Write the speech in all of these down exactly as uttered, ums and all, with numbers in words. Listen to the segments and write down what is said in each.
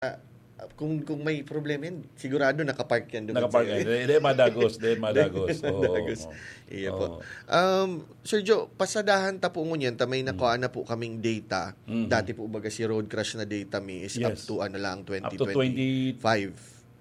ah, kung, kung may problema yan, sigurado nakapark yan doon Nakapark sa yan. Dahil, dahil madagos. Dahil madagos. Oo, Madagos. oo. Iya po. Oo. Um, Sir Joe, pasadahan ta po ngunyan, ta may nakuha na po kaming data. Mhm. Dati po baga si road crash na data mi is up Yes. to ano lang, Up to twenty, twenty twenty-five.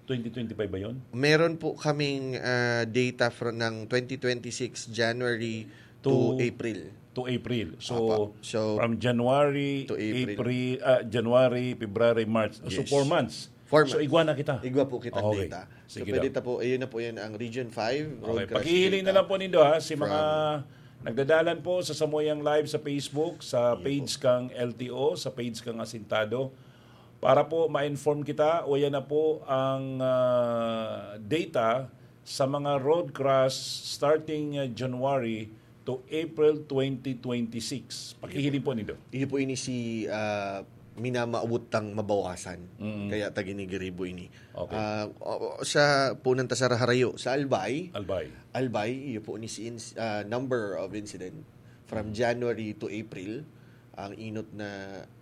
twenty twenty-five ba yun? Meron po kaming ah, data from ng twenty twenty-six January to, To- April. To April. So, Apa. So, from January, to April. April, ah, January, February, March. So, Yes. four months. Four So, months. igwa na kita. Igwa po kitang Okay. data. So, Sige pwede daw. ta po, ayun na po yan ang Region five, road Okay. crash Paghihiling na data. Lang po nindo ha, si From- mga nagdadalan po sa samuyang live sa Facebook, sa Sige page kang L T O, sa page kang Asintado. Para po ma-inform kita, o yan na po ang ah, data sa mga road crash starting ah, January to April twenty twenty-six. Pakihiling po nindo. Iyo po ini si ah, minamaawot tang mabawasan. Mm. Kaya ta ginigiribo ini. Okay. Ah, o- o- sa punan ta sa harayo, sa Albay, Albay. Albay, iyo po ni si ins- ah, number of incident from January to April, ang inot na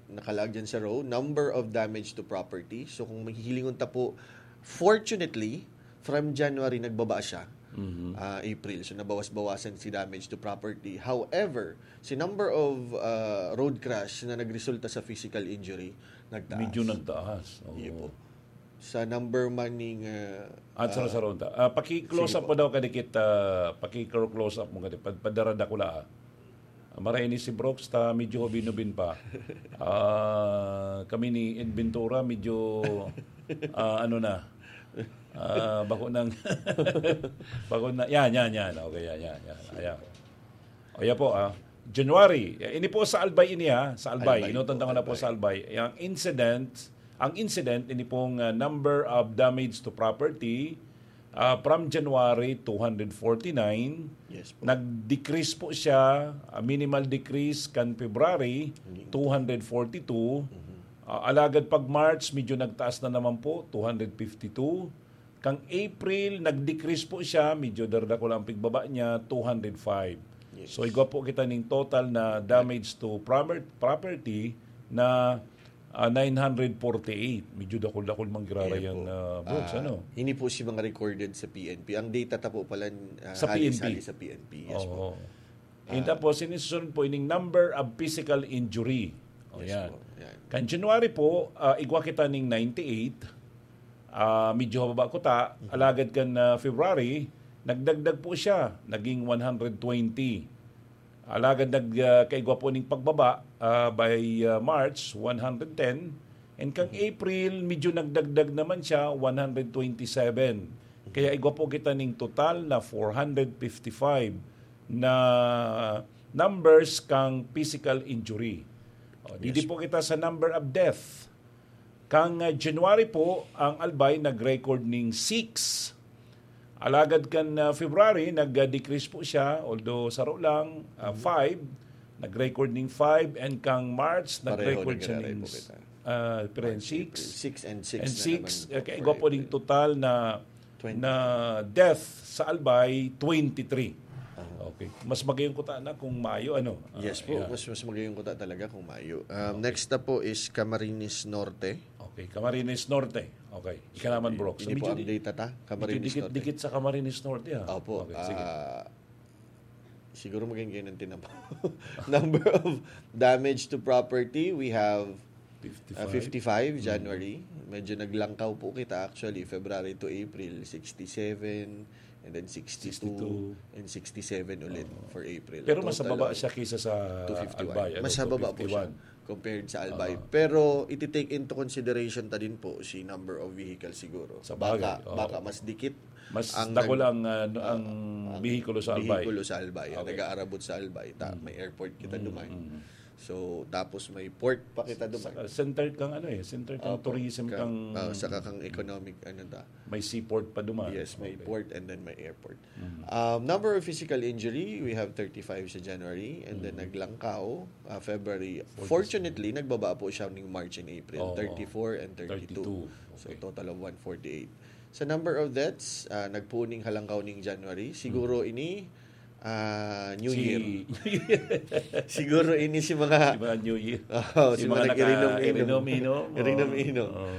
nakalaag dyan sa row, number of damage to property. So kung mahihilingon ta po, fortunately, from January nagbaba siya. Mhm. Ah, April. So nabawas-bawasan si damage to property. However, si number of ah, road crash na nagresulta sa physical injury, nagtaas. Medyo nagtaas. Oo. Iyo po. Sa number man ning ah, At sa ah, Saronta. Ah, paki-close Sige up po daw kadikit, ah, paki-close up mo kadikit. Pad- Padaradakula. Ah, maray ni si Brooks, ta medyo hubin-hubin pa. Ah, kami ni Ed Ventura, medyo ah, ano na. Ah, bako nang bako na yan, yan, yan. Okay, yan, yan, yan. Ayan. O yan po ah. January, eh, ini po sa Albay ini ha, sa Albay. Albay Inutan po, tango na po Albay. Sa Albay. Ang incident, ang incident ini pong ah, number of damage to property ah, from January two hundred forty-nine, Yes po. Nag-decrease po siya, ah, minimal decrease kan February, Mhm. two hundred forty-two. Mhm. Ah, alagad pag March, medyo nagtaas na naman po, two hundred fifty-two. Kang April, nag-decrease po siya, medyo dardako lang ang pigbaba niya, two hundred five. Yes. So, igwa po kita ning total na damage to proper- property na ah, nine hundred forty-eight. Medyo dakul-dakul man giraray Ayan ang po. ah, Brooks, Ah, ano? Hindi po si mga recorded sa P N P. Ang data ta po pala, ah, Sa P N P. halis-halis sa P N P. Yes po. Oo. And tapos, sinusunod po ining number of physical injury. O, Yes yan. po. Yan. Kan January po, ah, igwa kita ning ninety-eight. Ah, medyo mababa ko ta. Alagad kan ah, February, nagdagdag po siya. Naging one hundred twenty. Alagad nag, ah, kaigwa po ning pagbaba ah, by ah, March, one hundred ten. And kang April, medyo nagdagdag naman siya, one hundred twenty-seven. Kaya igwa po kita ning total na four hundred fifty-five na numbers kang physical injury. O, didi Yes. po kita sa number of death. Kang ah, January po, ang Albay nag-record ning six. Alagad kan ah, February, nag-decrease po siya, although saro lang, ah, five. Nag-record ning five, and kang March, Pareho nag-record siya nag-record ning po kita. ah, pero March, six. April. Six and six And na six, naman eh, for igwa po ning April. Total na Twenty. Na death sa Albay, twenty-three. Aha. Okay. Mas magayon ko ta na kung Mayo, ano? Ah, Yes po, yeah. mas, mas magayon ko ta talaga kung Mayo. Um, Next na po is Camarines Norte. Okay, Camarines Norte. Okay. Ika naman, Brooks. Hindi po Medyo ang di- data ta, medyo Camarines Norte. dikit-dikit sa Camarines Norte, ah. Opo. Okay, sige. Ah, siguro maging kayo ng tinapa. Number of damage to property, we have uh, fifty-five. fifty-five Mm. January. Medyo naglangkaw po kita actually, February to April, sixty-seven, and then sixty-two, Sixty-two. and sixty-seven ulit for April. Pero mas Total mababa of siya kaysa sa two fifty-one. Albay, ano, Mas mababa po siya two fifty-one. Compared sa Oo. Albay. Pero iti-take into consideration ta din po si number of vehicle siguro. Sa bagay, Baka, oo. baka mas dikit Mas ang dakul nag- ang, ah, ang ang bihikulo sa Albay. bihikulo sa Albay, ang Okay. nag-aarabot sa Albay. Ta, Mm. may airport kita Mm, duman. mm. So, tapos may port pa kita duman. Sa, center kang ano eh, center kang Opo, tourism, ka- kang ah, saka kang economic, ano ta. May seaport pa duman. Yes, may Okay. port and then may airport. Mm. Um, number of physical injury, we have thirty-five sa January, and then Mm. naglangkaw, ah, February. Forty-seven. Fortunately, nagbaba po siya ning March and April, Oo. thirty-four and thirty-two. Thirty-two. So, Okay. total of one forty-eight. Sa number of deaths, ah, nagpuning halangkaw ning January. Siguro Mm. ini, ah, New Si- Year. Siguro ini si mga Si mga New Year. Oo, Si si mga mga nag-irinom-inom. naka-irinom-inom. Oo. Irinom-inom. Oo.